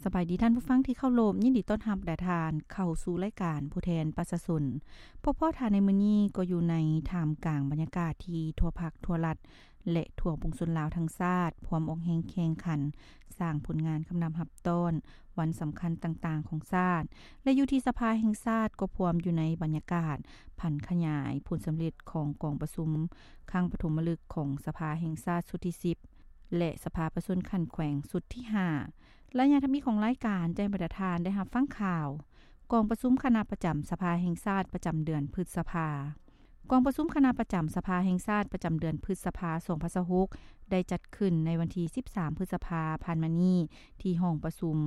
ສະບາຍດີທ່ານຜູ້ຟັງທີ່ເຄົາລົບ, ຍິນດີຕ້ອນຮັບແດ່ທ່ານເຂົ້າສູ່ລາຍການຜູ້ແທນປະຊາຊົນ. ພົບພໍ້ທ່ານໃນມື້ນີ້ກໍຢູ່ໃນທ່າມກາງບັນຍາກາດທີ່ທົ່ວພັກທົ່ວລັດ ແລະ ທົ່ວປວງຊົນລາວທັງຊາດ ພວມອອກແຮງແຂ່ງຂັນ ສ້າງຜົນງານຄຳນັບຮັບຕ້ອນວັນສຳຄັນຕ່າງໆຂອງຊາດ ແລະ ຢູ່ທີ່ສະພາແຫ່ງຊາດກໍພວມຢູ່ໃນບັນຍາກາດຜັນຂະຫຍາຍຜົນສຳເລັດຂອງກອງປະຊຸມຄັ້ງປະຖົມມະລຶກຂອງສະພາແຫ່ງຊາດຊຸດທີສິບ ແລະ ສະພາປະຊາຊົນຂັ້ນແຂວງຊຸດທີຫ້າ. ໄລຍະທຳອິດຂອງລາຍການແຈ້ງບັນດາທ່ານໄດ້ຮັບຟັງຂ່າວ ກອງປະຊຸມຄະນະປະຈຳສະພາແຫ່ງຊາດປະຈຳເດືອນພຶດສະພາ. ກອງປະຊຸມຄະນະປະຈຳສະພາແຫ່ງຊາດປະຈຳເດືອນພຶດສະພາສອງພັນຊາວຫົກ ໄດ້ຈັດຂຶ້ນໃນວັນທີສິບສາມພຶດສະພາຜ່ານມານີ້ ທີ່ຫ້ອງປະຊຸມ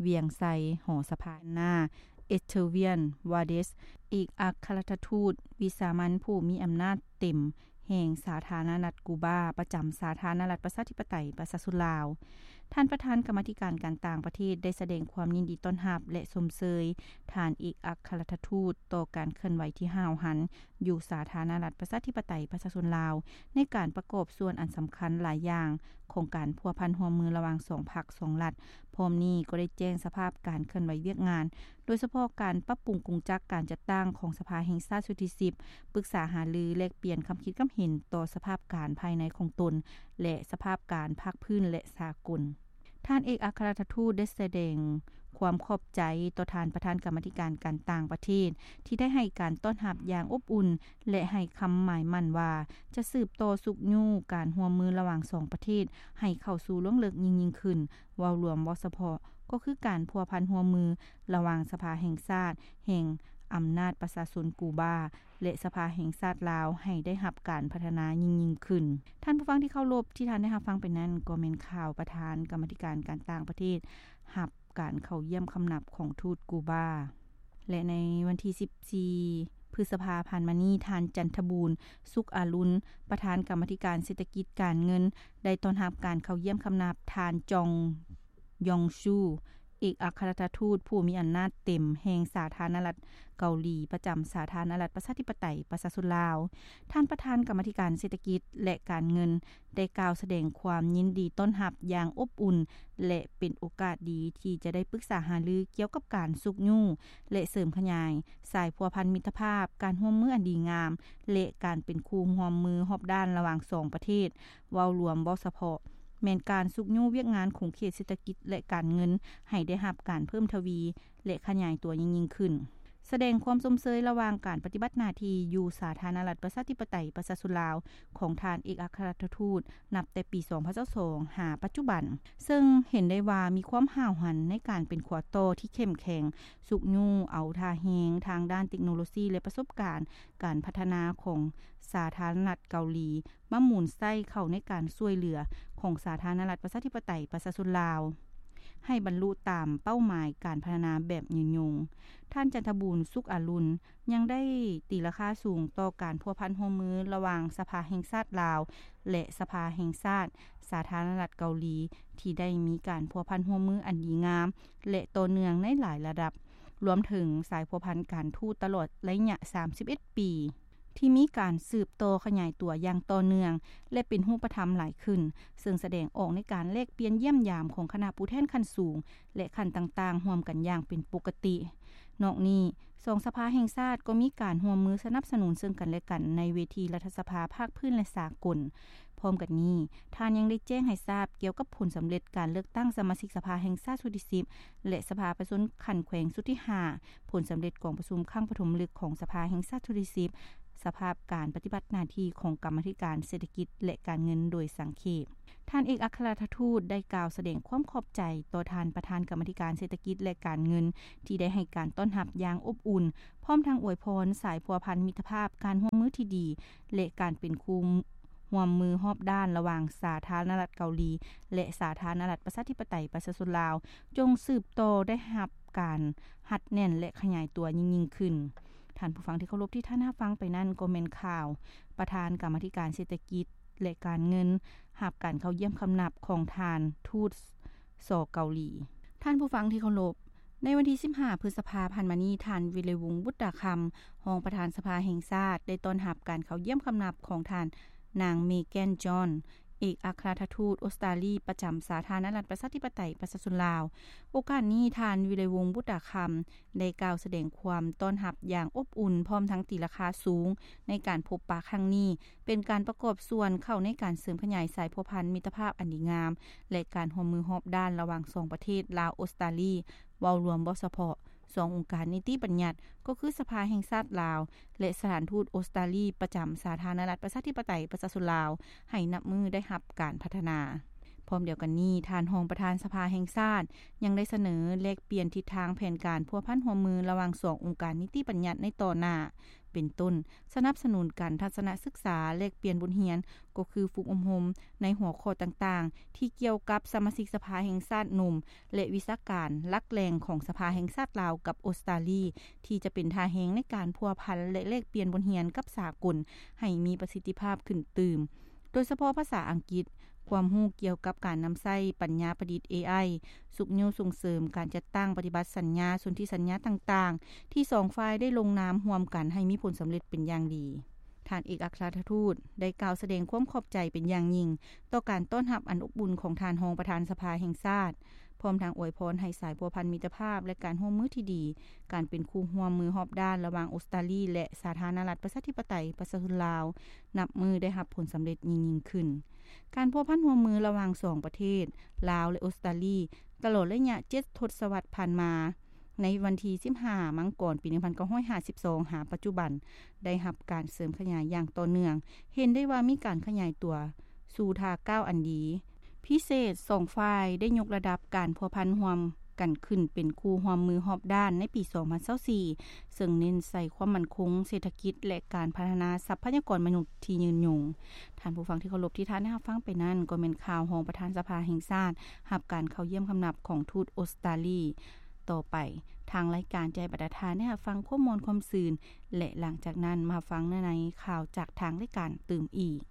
ວຽງໄຊ ຫໍສະພາ ໜ້າ Octavian Valdez ເອກອັກຄະລັດຖະທູດວິສາມັນຜູ້ມີອຳນາດເຕັມ ແຫ່ງສາທາລະນະລັດກູບາ ປະຈຳສາທາລະນະລັດປະຊາທິປະໄຕປະຊາຊົນລາວ. ທ່ານປະທານກຳມາທິການການຕ່າງປະເທດ ໄດ້ສະແດງຄວາມຍິນດີຕ້ອນຮັບ ແລະ ຊົມເຊີຍທ່ານເອກອັກຄະລັດຖະທູດຕໍ່ການເຄື່ອນໄຫວທີ່ຫ້າວຫັນຢູ່ສາທາລະນະລັດປະຊາທິປະໄຕປະຊາຊົນລາວ ໃນການປະກອບສ່ວນອັນສຳຄັນຫຼາຍຢ່າງຂອງການພົວພັນຮ່ວມມືລະຫວ່າງສອງພັກສອງລັດ. ພ້ອມນີ້ກໍໄດ້ແຈ້ງສະພາບການເຄື່ອນໄຫວວຽກງານ ໂດຍສະເພາະການປັບປຸງກົງຈັກການຈັດຕັ້ງຂອງສະພາແຫ່ງຊາດຊຸດທີສິບ, ປຶກສາຫາລືແລກປ່ຽນຄຳຄິດຄຳເຫັນຕໍ່ສະພາບການພາຍໃນຂອງຕົນ ແລະ ສະພາບການພາກພື້ນ ແລະ ສາກົນ. ທ່ານເອກອັກຄະລັດຖະທູດໄດ້ສະແດງຄວາມຂອບໃຈຕໍ່ທ່ານປະທານກຳມາທິການການຕ່າງປະເທດ ທີ່ໄດ້ໃຫ້ການຕ້ອນຮັບຢ່າງອົບອຸ່ນ ແລະ ໃຫ້ຄຳໝາຍໝັ້ນວ່າຈະສືບຕໍ່ຊຸກຍູ້ການຮ່ວມມືລະຫວ່າງສອງປະເທດໃຫ້ເຂົ້າສູ່ລວງເລິກຍິ່ງໆຂຶ້ນ. ເວົ້າລວມເວົ້າສະເພາະ ກໍຄືການພົວພັນຮ່ວມມືລະຫວ່າງສະພາແຫ່ງຊາດ ແຫ່ງອຳນາດປະຊາຊົນກູບາ ແລະ ສະພາແຫ່ງຊາດລາວ ໃຫ້ໄດ້ຮັບການພັດທະນາຍິ່ງໆຂຶ້ນ. ທ່ານຜູ້ຟັງທີ່ເຄົາລົບ, ທີ່ທ່ານໄດ້ຮັບຟັງໄປນັ້ນ ກໍແມ່ນຂ່າວປະທານກຳມາທິການການຕ່າງປະເທດ ຮັບການເຂົ້າຢ້ຽມຄຳນັບຂອງທູດກູບາ. ແລະ ໃນວັນທີສິບສີ່ພຶດສະພາຜ່ານມານີ້, ທ່ານ ຈັນທະບູນ ສຸກອາລຸນ ປະທານກຳມາທິການເສດຖະກິດການເງິນ ໄດ້ຕ້ອນຮັບການເຂົ້າຢ້ຽມຄຳນັບທ່ານ ຈອງ ຢອງຊູ ເອກອັກຄະລັດຖະທູດຜູ້ມີອຳນາດເຕັມແຫ່ງສາທາລະນະລັດເກົາຫຼີ ປະຈຳສາທາລະນະລັດປະຊາທິປະໄຕປະຊາຊົນລາວ. ທ່ານປະທານກຳມາທິການເສດຖະກິດ ແລະ ການເງິນ ໄດ້ກ່າວສະແດງຄວາມຍິນດີຕ້ອນຮັບຢ່າງອົບອຸ່ນ ແລະ ເປັນໂອກາດດີທີ່ຈະໄດ້ປຶກສາຫາລືກ່ຽວກັບການຊຸກຍູ້ ແລະ ເສີມຂະຫຍາຍສາຍພົວພັນມິດຕະພາບ, ການຮ່ວມມືອັນດີງາມ ແລະ ການເປັນຄູ່ຮ່ວມມືຮອບດ້ານລະຫວ່າງສອງປະເທດ. ເວົ້າລວມເວົ້າສະເພາະ ແມ່ນການຊຸກຍູ້ວຽກງານຂົງເຂດເສດຖະກິດ ແລະ ການເງິນ ໃຫ້ໄດ້ຮັບການເພີ່ມທະວີ ແລະ ຂະຫຍາຍຕົວຍິ່ງໆຂຶ້ນ. ສະແດງຄວາມຊົມເຊີຍລະຫວ່າງການປະຕິບັດໜ້າທີ່ຢູ່ສາທາລະນະລັດປະຊາທິປະໄຕປະຊາຊົນລາວຂອງທ່ານເອກອັກຄະລັດຖະທູດ ນັບແຕ່ປີສອງພັນຊາວສອງຫາປັດຈຸບັນ, ເຊິ່ງເຫັນໄດ້ວ່າມີຄວາມຫ້າວຫັນໃນການເປັນຂົວຕໍ່ທີ່ເຂັ້ມແຂງ, ຊຸກຍູ້ເອົາທ່າແຮງທາງດ້ານເຕັກໂນໂລຊີ ແລະ ປະສົບການການພັດທະນາຂອງສາທາລະນະລັດເກົາຫຼີ ມາໝູນໃຊ້ເຂົ້າໃນການຊ່ວຍເຫຼືອຂອງສາທາລະນະລັດປະຊາທິປະໄຕປະຊາຊົນລາວ ໃຫ້ບັນລຸຕາມເປົ້າໝາຍການພັດທະນາແບບຍືນຍົງ. ທ່ານ ຈັນທະບູນ ສຸກອາລຸນ ຍັງໄດ້ຕີລາຄາສູງຕໍ່ການພົວພັນຮ່ວມມືລະຫວ່າງສະພາແຫ່ງຊາດລາວ ແລະ ສະພາແຫ່ງຊາດສາທາລະນະລັດເກົາຫຼີ ທີ່ໄດ້ມີການພົວພັນຮ່ວມມືອັນດີງາມ ແລະ ຕໍ່ເນື່ອງໃນຫຼາຍລະດັບ, ລວມເຖິງສາຍພົວພັນການທູດຕະຫຼອດໄລຍະສາມສິບເອັດປີ ທີ່ມີການສືບຕໍ່ຂະຫຍາຍຕົວຢ່າງຕໍ່ເນື່ອງ ແລະ ເປັນຮູບປະທຳຫຼາຍຂຶ້ນ, ເຊິ່ງສະແດງອອກໃນການແລກປ່ຽນຢ້ຽມຢາມຂອງຄະນະຜູ້ແທນຂັ້ນສູງ ແລະ ຂັ້ນຕ່າງໆຮ່ວມກັນຢ່າງເປັນປົກກະຕິ. ນອກນີ້, ສອງສະພາແຫ່ງຊາດກໍມີການຮ່ວມມືສະໜັບສະໜູນເຊິ່ງກັນແລະກັນໃນເວທີລັດຖະສະພາພາກພື້ນ ແລະ ສາກົນ. ພ້ອມກັນນີ້, ທ່ານຍັງໄດ້ແຈ້ງໃຫ້ຊາບກ່ຽວກັບຜົນສຳເລັດການເລືອກຕັ້ງສະມາຊິກສະພາແຫ່ງຊາດຊຸດທີສິບ ແລະ ສະພາປະຊາຊົນຂັ້ນແຂວງຊຸດທີຫ້າ, ຜົນສຳເລັດກອງປະຊຸມຄັ້ງປະຖົມມະລຶກຂອງສະພາແຫ່ງຊາດຊຸດທີສິບ, ສະພາບການປະຕິບັດໜ້າທີ່ຂອງກຳມາທິການເສດຖະກິດ ແລະ ການເງິນໂດຍສັງເຂບ. ທ່ານເອກອັກຄະລັດຖະທູດໄດ້ກ່າວສະແດງຄວາມຂອບໃຈຕໍ່ທ່ານປະທານກຳມາທິການເສດຖະກິດ ແລະ ການເງິນ ທີ່ໄດ້ໃຫ້ການຕ້ອນຮັບຢ່າງອົບອຸ່ນ, ພ້ອມທັງອວຍພອນສາຍພົວພັນມິດຕະພາບ, ການຮ່ວມມືທີ່ດີ ແລະ ການເປັນຄູ່ຮ່ວມມືຮອບດ້ານລະຫວ່າງສາທາລະນະລັດເກົາຫຼີ ແລະ ສາທາລະນະລັດປະຊາທິປະໄຕປະຊາຊົນລາວ ຈົ່ງສືບຕໍ່ໄດ້ຮັບການຮັດແໜ້ນ ແລະ ຂະຫຍາຍຕົວຍິ່ງໆຂຶ້ນ. ທ່ານຜູ້ຟັງທີ່ເຄົາລົບ, ທີ່ທ່ານຮັບຟັງໄປນັ້ນກໍແມ່ນຂ່າວປະທານກຳມາທິການເສດຖະກິດ ແລະ ການເງິນ ຮັບການເຂົ້າຢ້ຽມຄຳນັບຂອງທ່ານທູດ ສ ເກົາຫຼີ. ທ່ານຜູ້ຟັງທີ່ເຄົາລົບ, ໃນວັນທີສິບຫ້າພຶດສະພາຜ່ານມານີ້, ທ່ານ ວິໄລວົງ ບຸດຕາຄຳ ຮອງປະທານສະພາແຫ່ງຊາດ ໄດ້ຕ້ອນຮັບການເຂົ້າຢ້ຽມຄຳນັບຂອງທ່ານນາງ ເມແກນ ຈອນ ເອ ເອກອັຄຣາຊທູດອົດສະຕາລີ ປະຈຳສາທາລະນະລັດ ປະຊາທິປະໄຕ ປະຊາຊົນລາວ. ໂອກາດນີ້ ທ່ານ ວິໄລວົງ ບຸດຕາຄຳ ໄດ້ກ່າວສະແດງຄວາມຕ້ອນຮັບຢ່າງອົບອຸ່ນ ພ້ອມທັງຕີລາຄາສູງ ໃນການພົບປະຄັ້ງນີ້ ເປັນການປະກອບສ່ວນເຂົ້າໃນການເສີມຂະຫຍາຍສາຍພົວພັນມິດຕະພາບອັນດີງາມ ແລະ ການຮ່ວມມືຮອບດ້ານລະຫວ່າງສອງປະເທດ ລາວ-ອົດສະຕາລີ ເວົ້າລວມບໍ່ສະເພາະ ສອງອົງການນິຕິບັນຍັດ ກໍຄືສະພາແຫ່ງຊາດລາວ ແລະ ສະຖານທູດອົດສະຕາລີ ປະຈຳສາທາລະນະລັດ ປະຊາທິປະໄຕ ປະຊາຊົນລາວ ໃຫ້ນັບມື້ໄດ້ຮັບການພັດທະນາ. ພ້ອມດຽວກັນນີ້ ທ່ານຮອງປະທານສະພາແຫ່ງຊາດ ຍັງໄດ້ສະເໜີແລກປ່ຽນທິດທາງແຜນການພົວພັນຮ່ວມມືລະຫວ່າງສອງອົງການນິຕິບັນຍັດໃນຕໍ່ໜ້າ ເປັນຕົ້ນ ສະໜັບສະໜູນການທັດສະນະສຶກສາ ແລກປ່ຽນບົດຮຽນ ກໍຄືຝຶກອົບຮົມໃນຫົວຂໍ້ຕ່າງໆ ທີ່ກ່ຽວກັບສະມາຊິກສະພາແຫ່ງຊາດໜຸ່ມ ແລະ ວິຊາການຫຼັກແຫຼ່ງຂອງສະພາແຫ່ງຊາດລາວກັບອົດສະຕາລີ ທີ່ຈະເປັນທ່າແຮງໃນການພົວພັນ ແລະ ແລກປ່ຽນບົດຮຽນກັບສາກົນໃຫ້ມີປະສິດທິພາບຂຶ້ນຕື່ມ ໂດຍສະເພາະພາສາອັງກິດ, ຄວາມຮູ້ກ່ຽວກັບການນຳໃຊ້ປັນຍາປະດິດ ເອໄອ, ຊຸກຍູ້ສົ່ງເສີມການຈັດຕັ້ງປະຕິບັດສັນຍາສົນທິສັນຍາຕ່າງໆ ທີ່ສອງຝ່າຍໄດ້ລົງນາມຮ່ວມກັນໃຫ້ມີຜົນສຳເລັດເປັນຢ່າງດີ. ທ່ານເອກອັຄຣາຊທູດໄດ້ກ່າວສະແດງຄວາມຂອບໃຈເປັນຢ່າງຍິ່ງຕໍ່ການຕ້ອນຮັບອັນອົບອຸ່ນຂອງທ່ານຮອງປະທານສະພາແຫ່ງຊາດ, ພ້ອມທັງອວຍພອນໃຫ້ສາຍພົວພັນມິດຕະພາບ ແລະ ການຮ່ວມມືທີ່ດີ, ການເປັນຄູ່ຮ່ວມມືຮອບດ້ານລະຫວ່າງອົດສະຕາລີ ແລະ ສາທາລະນະລັດ ປະຊາທິປະໄຕ ປະຊາຊົນລາວ ນັບມື້ໄດ້ຮັບຜົນສຳເລັດຍິ່ງໆຂຶ້ນ. ການພົວພັນຮ່ວມມືລະຫວ່າງສອງປະເທດ ລາວ ແລະ ອົດສະຕາລີ ຕະຫຼອດໄລຍະເຈັດທົດສະວັດຜ່ານມາ, ໃນວັນທີສິບຫ້າ ມັງກອນ ປີໜຶ່ງພັນເກົ້າຮ້ອຍຫ້າສິບສອງ ຫາປັດຈຸບັນ ໄດ້ຮັບການເສີມຂະຫຍາຍຢ່າງຕໍ່ເນື່ອງ, ເຫັນໄດ້ວ່າມີການຂະຫຍາຍຕົວສູ່ທ່າກ້າວອັນດີ. ພິເສດ, ສອງຝ່າຍໄດ້ຍົກລະດັບການພົວພັນຮ່ວມກັນຂຶ້ນເປັນຄູ່ຮ່ວມມືຮອບດ້ານໃນປີສອງພັນຊາວສີ່ ເຊິ່ງເນັ້ນໃສ່ຄວາມໝັ້ນຄົງເສດຖະກິດ ແລະ ການພັດທະນາຊັບພະຍາກອນມະນຸດທີ່ຍືນຍົງ. ທ່ານຜູ້ຟັງທີ່ເຄົາລົບ, ທີ່ທ່ານໄດ້ຮັບຟັງໄປນັ້ນ ກໍແມ່ນຂ່າວຮອງປະທານສະພາແຫ່ງຊາດ ຮັບການເຂົ້າຢ້ຽມຄຳນັບຂອງທູດອົດສະຕາລີ. ຕໍ່ໄປ, ທາງລາຍການຈະໃຫ້ບັນດາທ່ານໄດ້ຮັບຟັງຄວາມມ່ວນຄວາມຊື່ນ ແລະ ຫຼັງຈາກນັ້ນມາຟັງໃນຂ່າວຈາກທາງລາຍການຕື່ມອີກ.